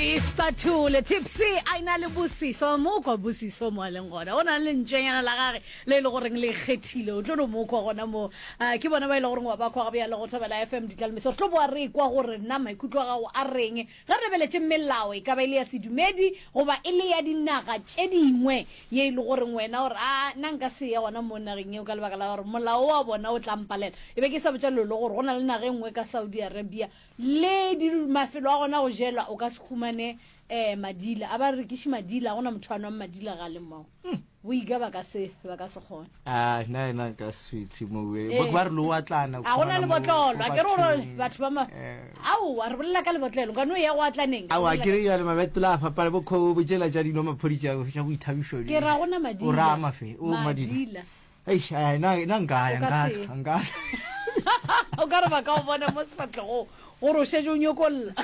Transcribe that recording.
Re Iscathule Tipsy a ina le Bosiso mo kwa Bosiso mo a leng gona o na le lentšwenyana la gage le e le goreng le ikgethile o tlo no mo kwa gona mo. Ah, ke bona ba e le goreng wa ba kwa gabjale go Thobela FM Ditlalmeso. Re tlo boa re kwa gore na maikutlo a gago a reng ge re lebeletše melao e ka ba e le ya sedumedi goba e le ya dinaga tše dingwe ye e le goreng wena o re a nna nka se ye gona mo nageng yeo ka lebaka la gore molao wa bona o tla mpalela. E be ke sa botša Lolo gore go na le naga e nngwe ka Saudi Arabia Le di mafelo a gona go jelwa o ka se humane eh madila a ba rekiše madila a gona motho a nwang madila ga le mo boika ba ka se ba ka se kgone. Ah nna ena nka se fihle mo eh. Ba re lo atlana a gona lebotlolo a ke re gore batho ba ma aowa re bolela ka lebotlelo ka no ya go atlaneng aowa ke re ya le mabetola a fapana bo kho bo tšela tša dino maphodi tša tša boithabišo ke ra gona madila o ra mafe o madila Eish, ai, na, na nka ya, O ka nka se. tla, nka tla. O ka re ba ka o bona mo sefahlegong gore o šetše o nyokolla.